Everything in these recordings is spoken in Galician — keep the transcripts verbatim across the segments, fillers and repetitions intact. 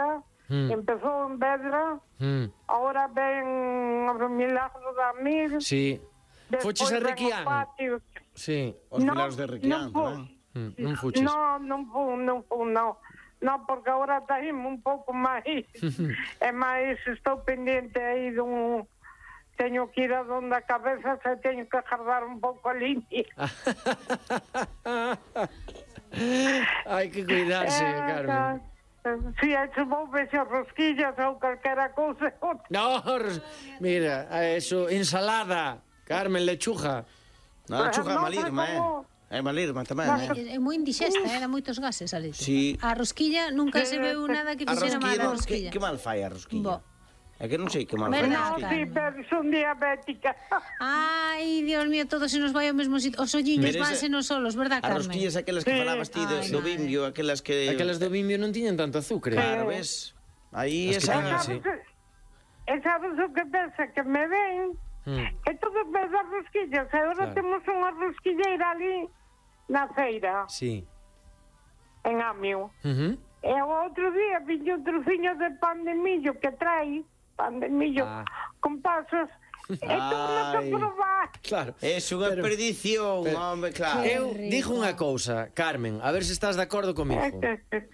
agora, mm. empezou en Vedra, mm. agora ven o Milagro da Mir. Sí. Foches a Requián? Sí. Os no, Milagros de Requián, non? Mm, non fuches? No, non fun, non fun, non. Non, porque agora taíme un pouco máis. E máis estou pendiente aí dun... Teño que ir a donde a cabeza, se teño que agardar un pouco a línea. Hai que cuidarse, eh, Carmen. Si, hai se vou vexer rosquillas ou calquera cousa. No, mira, eso, ensalada. Carmen, lechuga. No, lechuga é malirma, eh. É malirma tamén, eh. É moi indigesta, eh, dá moitos gases a lechuga. Sí. A rosquilla nunca se veu nada que fixera mal a rosquilla. Que mal fai a rosquilla? É que non sei que mal fai a rosquilla. No, sí, pero son diabética. Ai, Dios mío, todo se nos vai ao mesmo sitio. Os olliños vanse nos solos, verdad, Carmen? As rosquillas aquelas que falabas ti do Bimbio, aquelas que... Aquelas do Bimbio non tiñan tanto azúcar. Claro, ves? Aí esa... E sabes o que pensa? Que me ven... É todo vez das rosquillas. Agora temos unha rosquilleira ali na feira. Sí. En Amio. E o outro día viño un trociño de pan de millo que trae, pan de millo con pasas, e todo que probar. Claro. É unha perdición, home, claro. Eu dixo unha cousa, Carmen, a ver se estás de acordo comigo.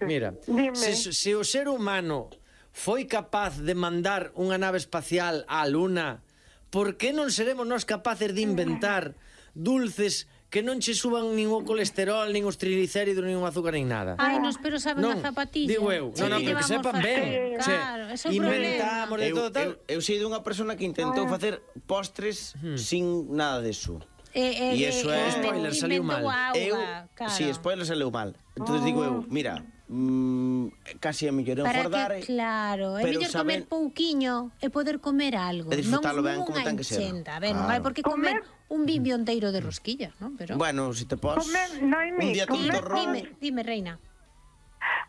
Mira, se o ser humano foi capaz de mandar unha nave espacial á Luna, por que non seremos nós capaces de inventar dulces que non che suban nin o colesterol, nin os triglicéridos, nin o azúcar, nin nada? Ai, nos pero saben a zapatilla. Digo eu, non, non, pero que sepan ben. Claro, ese é o inventamos de todo tal. Eu sei dunha persona que intentou facer postres sin nada deso. E iso é... Spoiler, saliu mal. Eu, si, spoiler, saliu mal. Entón digo eu, mira... Mm, casi é mellor engordar. Claro, é mellor comer pouquiño e poder comer algo. E disfrutalo ben como ten que ser. A ver, non hai por que comer un bimbio enteiro de rosquilla, non? Pero bueno, se te pos un día tonto arroz. Dime, dime, reina.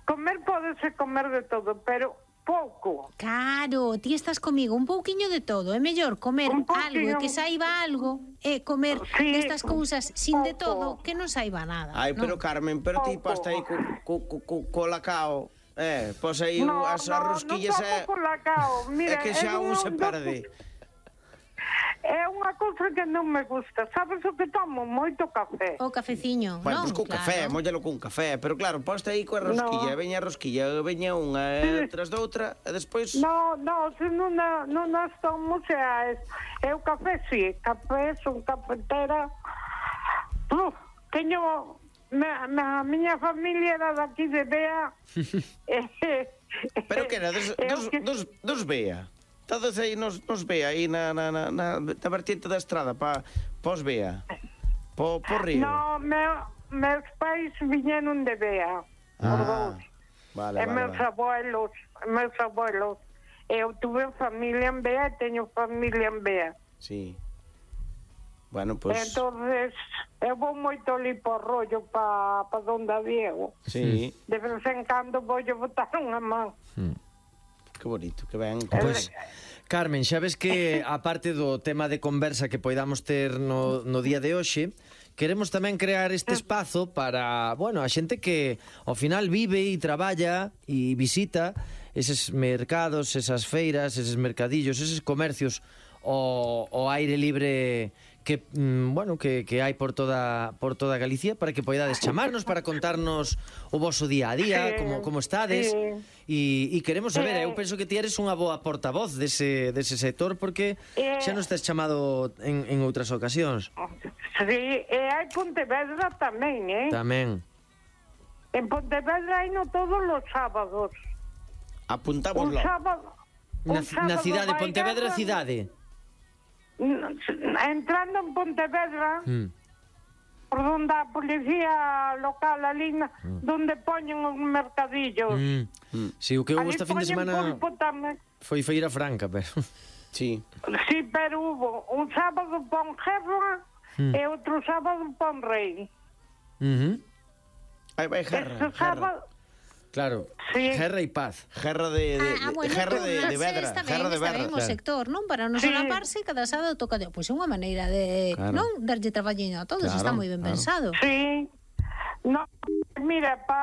Comer podese comer de todo, pero pouco. Claro, ti estás comigo, un pouquiño de todo. É mellor comer algo e que saiba algo e comer sí, estas cousas sin de todo que non saiba nada. Ai, ¿no? pero Carmen, pero ti pasta aí co, co, co, co, co lacao. Eh, pos aí no, as no, rosquillas no é... No, lacao. Mira, é que xa un se perde. É unha cousa que non me gusta. Sabes o que tomo? Moito café. O cafeciño, bueno, non? Pois pues, co claro. café, mollalo con café. Pero claro, posta aí coa rosquilla, no. Veña a rosquilla, veña unha sí. Tras doutra, e despois... No, no, se non, non as tomo, xa é... É o café, si. Café, son cafetera. Uf, teño... A miña familia era daqui de Bea. Pero que era? Dos, dos, dos, dos Bea? Todos aí nos, nos Bea, aí na, na, na, na, na vertiente da estrada, pa, pos Bea, po, po río. No, meu, meus pais viñeron de Bea, ah, vale, e vale, meus vale. abuelos, meus abuelos. Eu tuve familia en Bea e teño familia en Bea. Sí. Bueno, pues... Entonces, eu vou moito ali por rollo pa, pa donde a Diego. Sí. De vez en cando vou botar unha man. Hmm. Que bonito, que ben. Pois, Carmen, xa ves que aparte do tema de conversa que poidamos ter no, no día de hoxe, queremos tamén crear este espazo para, bueno, a xente que ao final vive e traballa e visita eses mercados, esas feiras, eses mercadillos, eses comercios ao, ao aire libre que, mm, bueno, que, que hai por toda por toda Galicia, para que poidades chamarnos para contarnos o voso día a día, sí, como, como estades, sí. e, e queremos saber, sí. Eu penso que ti eres unha boa portavoz dese, dese sector, porque sí. Xa non estás chamado en, en outras ocasións. Sí, e hai Pontevedra tamén, eh? Tamén. En Pontevedra hai no todos os sábados. Apuntámoslo. Un sábado, na, un sábado na cidade, Pontevedra bailar, cidade. Entrando en Pontevedra, mm. por donde a policía local ali, mm. donde poñen os mercadillos. Mm. Mm. Si, sí, o que houve esta fin de semana foi Feira Franca, pero... Sí. Sí, pero hubo un sábado pon Gerra mm. e outro sábado pon Rei. Uh -huh. Aí vai Gerra, Gerra. Sábado... Claro, sí. Gerra e paz. Gerra de, de, ah, bueno, Gerra de, de Vedra. Está ben, Gerra de está Vedra, ben o sector, non? Para non sí. solaparse, cada sábado toca... Pois é unha maneira de, claro. non? Darlle traballiño a todos, claro, está moi ben claro. pensado. Sí. No, mira, pa